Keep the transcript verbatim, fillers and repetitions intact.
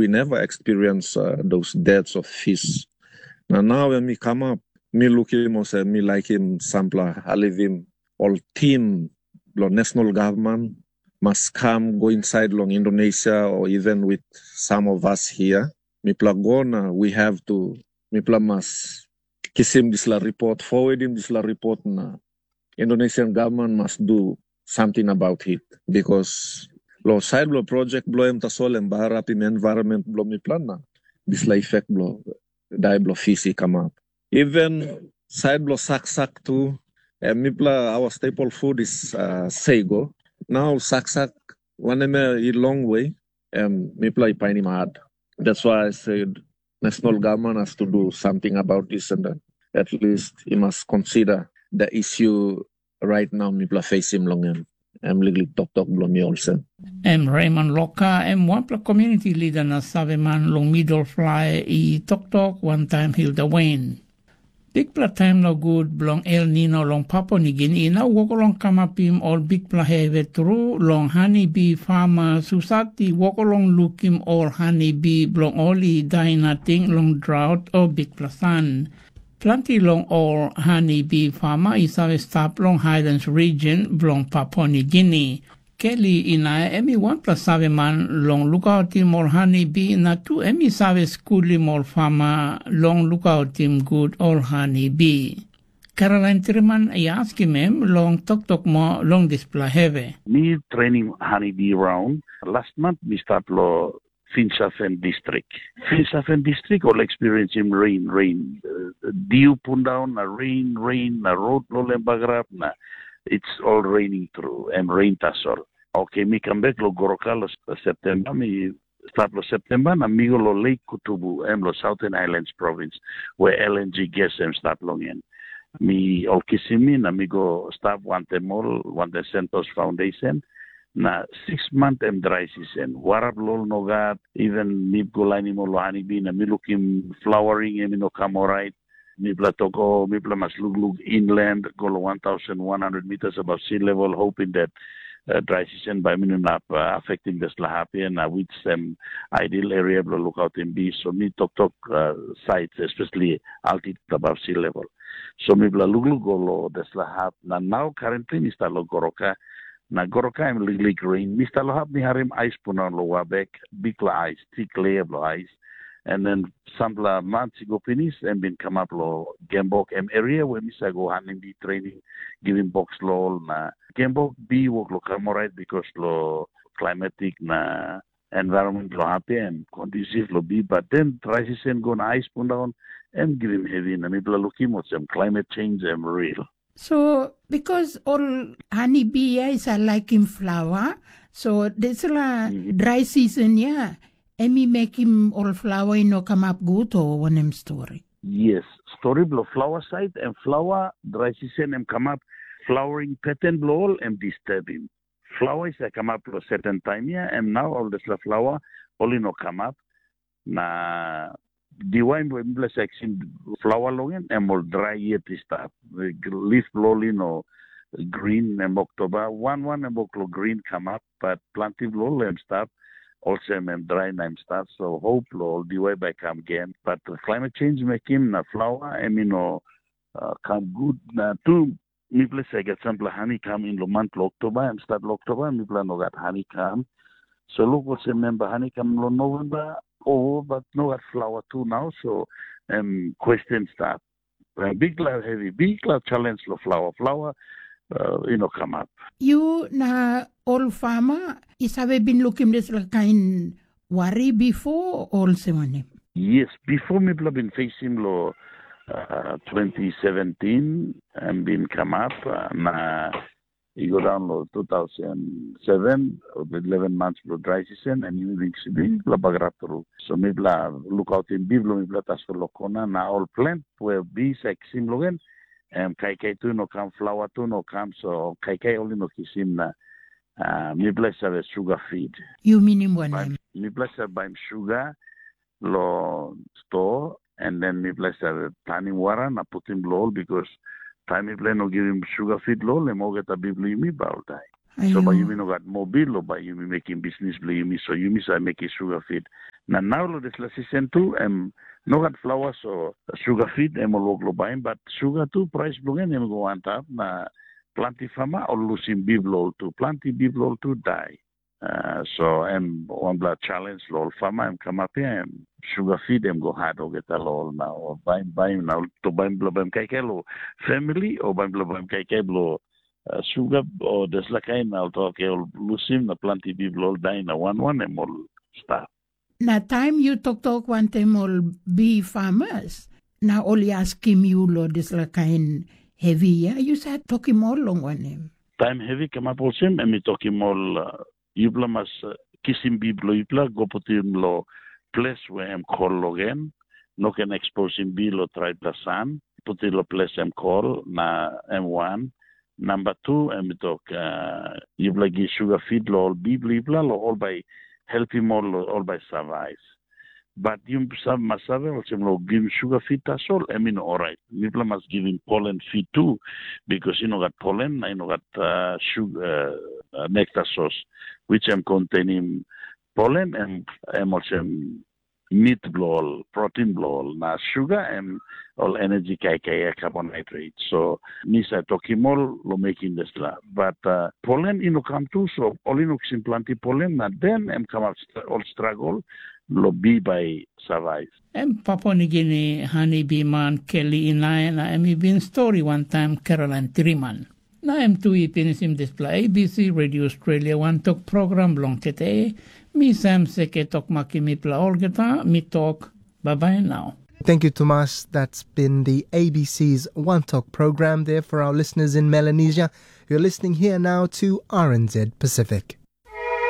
We never experience uh, those deaths of fish. Na nau em i kamap, mi lukim olsem mi laikim sampela halivim ol tim bilong national government mas kam go inside long Indonesia or even with some of us here. Mipela go na we have to, mipela mas kisim dispela report, forwardim dispela report na Indonesian government must do something about it because lo side lo project bilong em tasol em bagarapim environment bilong mipela na dispela effect bilong dai bilong fish i kamap. Even side bilong saksak tu, em mipela our staple food is uh, sego. Now saksak wanem i long way, em mipela i painim hard. That's why I said national government has to do something about this and then at least he must consider the issue right now mipela facing long em. Em liklik toktok bilong mi olsem. Em Raymond Loka, em wanpela community leader na saveman long middle fly i toktok wantaim Hilda Wayne. Bikpela taim nogut bilong El Nino long Papua Nigini i nau wok long kamapim ol bikpela hevi tru long hani bi farmas husat i wok long lukim ol hani bi bilong ol i dai nating long draut o bikpela san. Planti long ol hani bi farma i save stap long Highlands region bilong Papua Nigini. Keli Inaia em i wanpela saveman long lukautim ol hani bi na tu em i save skulim ol farma long lukautim gut ol hani bi. Caroline Triman i askim em long toktok moa long dispela hevi. Mi training hani bi raun. Last month mi start lo Finsafen distrik. Finsafen distrik ol experiensim rain, rain. Uh, diu pundaun na rain, rain na rod lo lem bagarap na it's all raining through em rain tasol. Okay, mi kam bek lo Goroka lo September, mi start lo September na mi go lo Lake Kutubu, em lo Southern Islands Province, where L N G gas em start long en. Mi ol kisim mi na mi go stap wantem ol, wantem Santos Foundation, na six month em dry season. Wara bilong ol no gat, even mi go lainim ol hani bi na mi lukim flowering em i no kam orait. Mipela tok, oh, mipela mas lukluk inland, go lo one thousand one hundred meters above sea level, hoping that uh, dry season bai minimum up uh, affecting the Slahapia na which um, ideal area bilong lookout in be. So mi tok tok uh, sites, especially altitude above sea level. So mipela lukluk go lo the Slahap na now currently mi start lo Goroka. Na Goroka em liklik rain. Mi start lo hap mi harim ais pundaun lo Wabek, bikpela ais, thick layer bilong ais. And then sampela months i go pinis, em bin kamap lo Gembok em area where mi sa go hanim bi training, givim box lo ol na Gembok bi wok lo kam orait because lo climatic na environment lo hapia em conducive lo bi, but then dry season go na ais pundaun, em givim heavy na mipela lukim olsem climate change em real. So, because ol hani bi ya i sa laikim flawa, so dispela dry season ya, em i mekim ol flawa i no kamap gut o wanem stori? Yes, stori bilong flawa sait em flawa dry season em kamap, flowering pattern bilong ol em disturbim. Flawa i sa kamap long certain taim ya, em nau ol dispela flawa ol i no kamap. Na diwai we mipela sa kisim flawa long en, em ol drai yet i stap. Lif bilong ol i no grin, em Oktoba. Wan wan em wok long grin kamap, bat planti bilong ol em stap. Olsem em drai na em stap, so hop long ol diwai bai kam gen. Bat climate change mekim na flawa em i no uh, kam gut. Na tu mipela sa gat sampela hani kam in long mant long Oktoba, em stat long Oktoba, mipela no gat hani kam. So luk olsem memba hani kam long Novemba, o bat no gat flawa tu nau, so em question start. Bikpela hevi, bikpela challenge long flawa. Flawa uh, i no kamap. Yu na ol fama i save bin lukim dispela kain wari bipo, olsem wanem? Yes, bipo mipela bin fesim long uh, twenty seventeen, em bin kamap uh, na i go daun long two thousand seven, eleven months bilong dry season, and yumi bin kisim bikpela bagarap tru. So mipela lukautim bi bilong mipela tasol long kona, na ol plant we bi sa kisim long en, em kaikai tu no kam, flawa tu no kam, so kaikai ol i no kisim na uh, mipela i save suga feed. Yu minim wanem? Mipela i save baim suga long sto, and then mipela i save planim wara na putim long ol, because taim mipela i no givim suga feed long ol, em olgeta biblu yumi bai ol dai. So bai yumi no gat mobil o bai yumi mekim bisnis bilong yumi, so yumi save mekim suga fit. Na nau long dispela sisen tu em no gat flawa, so suga fit em ol wok long baim, bat suga tu prais bilong en em i go antap, na planti fama ol lusim bip bilong ol tu, planti bip bilong ol tu dai. Uh, so em wanpela challenge long ol fama em kamap ya, em suga fit em go hat olgeta long ol, na ol baim baim na ol to baim bilong baim kaikai long family o baim bilong baim kaikai bilong uh, suga o dispela kain, na ol tok ol lusim na planti bip bilong ol dai na wan wan em ol stap. Na taim yu toktok wantaim ol bi famas, na ol i askim yu long dispela kain hevi ya, yu save tokim ol long wanem? Taim hevi kamap olsem, em i tokim ol, uh, yupela mas uh, kisim bi bilong yupela, go putim long ples we em kol logen, no ken eksposim bi long traipela san, putim long ples em kol, na em wan. Namba tu, em i tok, uh, yupela gi suga fit long ol bi bilong yupela, long ol bai helpim ol, ol bai savais. Bat yu mas save olsem, long givim suga fit tasol em i no orait. Mipela mas givim polen fit tu, bikas i no gat polen na i no gat uh, suga, uh, nektar sos, which em kontainim polen, em, em olsem mit bilong ol, protein bilong ol, na suga em ol energy kaikai ya, carbohydrate. So mi save tokim ol long mekim dispela. Bat uh, polen i no kam tu, so ol i no kisim planti polen, na den em kamap st- ol struggle long bi bai survive. Em Papua Nigini hani biman Keli Inae na em i bin stori wantaim Caroline Triman. Na em tu i pinisim dispela A B C Radio Australia wantok program bilong tete. Mi Sam Seke tok makim mipela olgeta, mi tok, bye bye now. Thank you, Tomas. That's been the A B C's One Talk program there for our listeners in Melanesia. You're listening here now to R N Z Pacific.